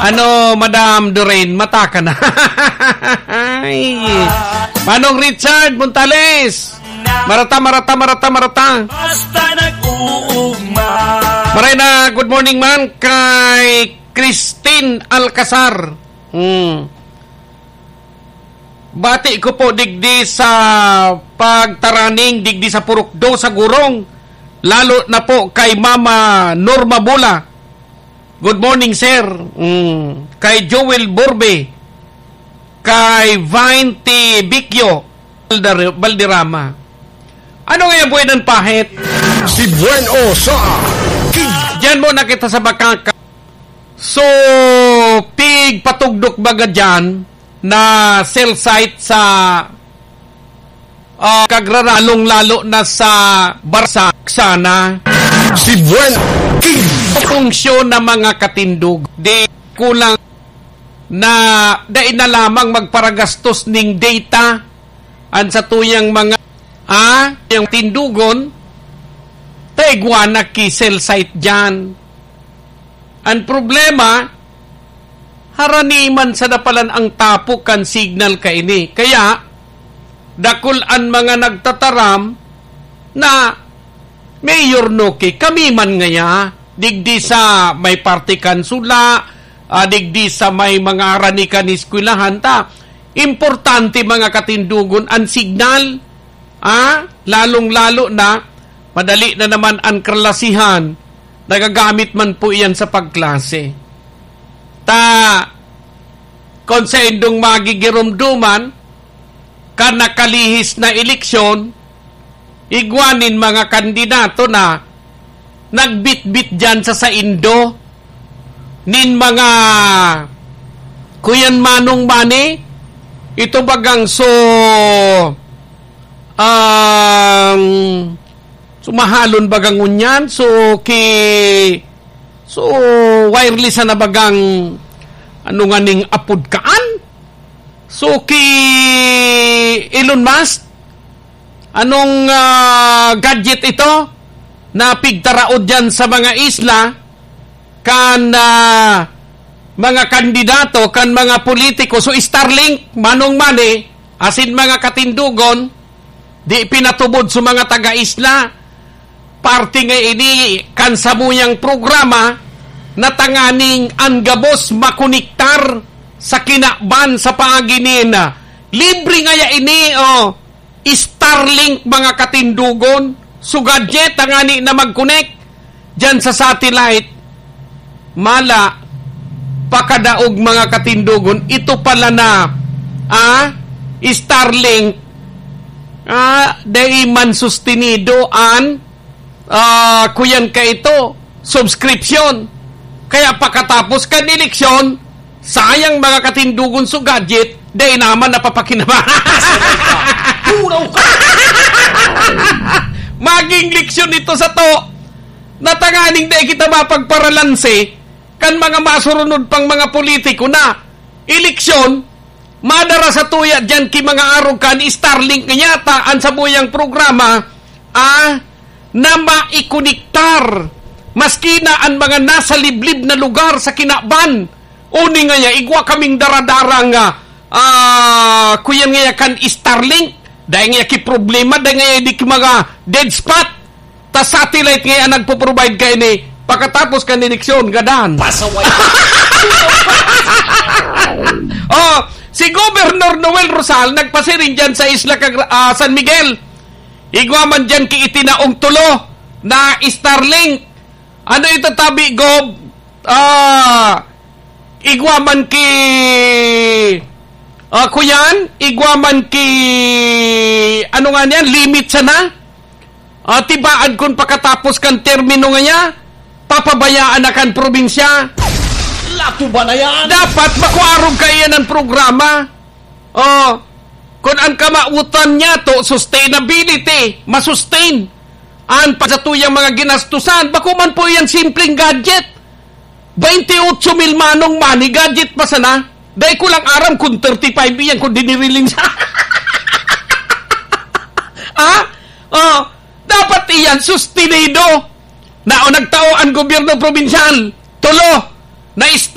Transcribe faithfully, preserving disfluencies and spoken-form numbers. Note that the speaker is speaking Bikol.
Ano, Madam Doreen, mata ka na. Ay. Manong Richard Montales. Marata, marata, marata, marata. Basta nag-uugma. Maray na, good morning man kay Christine Alcazar. Hmm. Bati ko po digdi sa pagtaraning digdi sa Purok Do sa Gurong, lalo na po kay Mama Norma Bula. Good morning, sir. Mm. Kay Joel Borbe, kay Vine T. Bicchio, Balder-, Balderrama. Ano nga yung buhay ng pahit? Si Bueno sa Diyan muna kita sa Bakaka. So, pig patugdok baga dyan na cell site sa, ah, kagraralong lalo na sa Barsak sana. Si Buen King. Funksyon ng mga katindog, di kulang na dai na lamang magparagastos ning data an satuyang mga, ah, yung tindugon, taigwa na ki cell site dyan. Ang problema, harani man sa dapalan ang tapok kan signal kaini. Kaya, dakul an mga nagtataram na, "Mayor Noki, kami man ngaya, digdi sa may parte kan Sula, ah, digdi sa may mga harani kan eskwelahan, ta, importante mga katindugon an signal." Ah, lalong-lalo na, madali na naman an kalasihan, nagagamit man po iyan sa pagklase. Ta, kung sa indong magigiromdoman, kan nakalihis na eleksyon, igwa nin mga kandidato na nagbitbit diyan sa saindo nin mga, kuyan manong mani, ito bagang so, um, sumahalon bagang ngunyan, so ki-, so wireless na bagang, ano nga ning apod kaan? So ki Elon Musk, anong, ah, gadget ito na pigtaraod diyan sa mga isla kan, ah, mga kandidato, kan mga politiko? So Starlink, manong mani, asin mga katindugon, di pinatubod sa mga taga-isla. Parte nga ini kan samuyang programa na tanganing an gabos makonektar sa kinaban sa paagi nin, ah, libre ngaya ini, oh, Starlink, mga katindugon. So gadget tangani na mag-connect diyan sa satellite. Mala, pakadaog, mga katindugon, ito pala na, ah, Starlink, ah, dai man sustenido an, ah, kuyan ka ito, subscription. Kaya pakatapos kan eleksyon, sayang, mga katindugon, so gadget, dai naman napapakinabangan. Tulaw ka! Maging leksyon ito sa to, na tanganing dai kita mapagparalanse, kan mga masurunod pang mga politiko na eleksyon, madara sa tuya diyan ki mga arog kan Starlink nga yata an samuyang programa, ah, na maikonektar maski na an mga nasa liblib na lugar sa kinaban. Uni nga ya, igwa kaming daradarang, ah, ah, kuyan nga ya kan Starlink. Dai nga ya ki problema, dai nga ya di ki mga dead spot. Ta satellite nga nagpo-provide kaini pakatapos kan eleksyon, gadan. Pasaway. Oh, si Governor Noel Rosal nagpasiring diyan sa Isla Cagra-, ah, San Miguel. Igwa man diyan ki itinaong tulo na Starlink. Ano ito, tabi, Gov? Ah, igwa man ki, ah, kuyan, igwa man ki, ano nga niyan, limit sana? Ah, tibaan kun pakatapos kan termino nga niya, papabayaan na kan probinsya. Lato ba na yan? Dapat makuarog kaiyan ang programa. Oh, kun ang kamawotan niya to, sustainability, masustain. An pa sa tuyang mga ginastusan, bako man po yan simpleng gadget. Baynte otso mil manong money, gadget pa sana. Dai ko lang aram kung thirty-five iyan, kung diniriling sa Ha? Oh, dapat iyan sustinido. Na o nagtao ang gobyerno probinsyal. Tulo, na